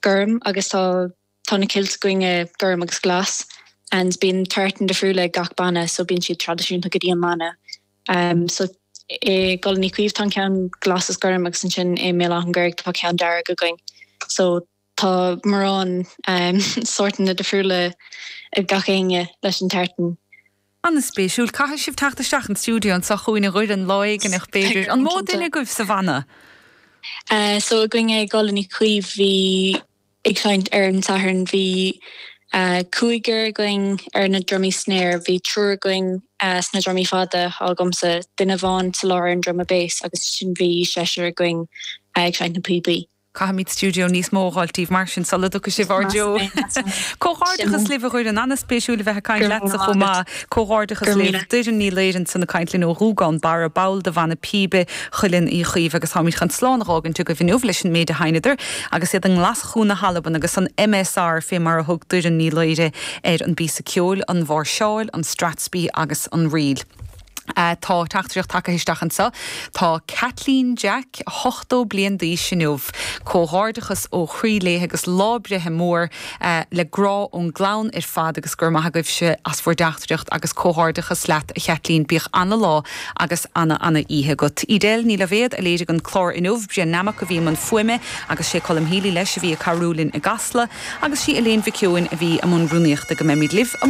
Gorm agus tá tá na kilts againne gorm agus glas and bíonn tartan difriúil ag gach banna so bíonn siad traidisiúnta go dtí an mbanna. So i gCoileann Uí Chaoimh tá an ceann glas is gorm agus ansin i mBéal Átha'n Ghaorthaidh tá ceann dearg againn. So tá mórán sórtanna difriúla ag gach éinne leis an tartan. An-spéisiúil. Caithfidh sibh teacht isteach an stiúideo anseo chugainn a Dhoireann lá éigineach b'fhéidir. An mó duine agaibh sa bhanna? So againne i gCoileann Uí Chaoimh bhí ag seinnt ar an Satharn bhí cúigear againn ar na drumaí snare, bhí triúr againn sna drumaí fada, agamsa, duine amháin sa lár ar an druma bass agus ansin bhí seisear againn ag seinnt na píobaí. Caithfimid stiúideo níos mó a dh'fháilt daoibh mar sin sula dtiocfaidh sibh ár dtreo. Comhghairdeachas libh a Dhoireann. An-spéisiúil a bheith ag caint leatsa chomh maith. Comhghairdeachas libh. Doireann Ní Laoire ansan ag caint linn ó Ghúgán Barra, ball de bhanna píbe Chuileann Uí Chaoimh agus táimid chun slán a dh'fhágaint agaibh inniu leis an méid a sheinneadar agus iad i nGlaschú na hAlban agus an MSR fé mar a thug Doireann Ní Laoire ar an bpíosa ceoil, an mháirseáil, an strathspey agus an ríl. Tá teachtaireacht tagtha isteach anseo. Tá Caitlín Jack 80 bliain d'aois inniu. Comhghairdeachas ó chroí léi agus lá breithe mór le grá ón gclann ar fad agus go raibh maith agaibhse as bhur dteachtaireacht agus comhghairdeachas leat a Chaitlín. Bíodh ana-lá agus ana-ana-oíche agat. Edel Ní Loibhéad a léirigh an clár inniu, Brian Nammock a bhí i mbun fuaime agus sé Colm Healy leis a bhí ag cabhrú linn i gCasla agus sí Elaine Mhic Eoin a bhí i mbun rúnaíochta. Go mbeimid libh amárach.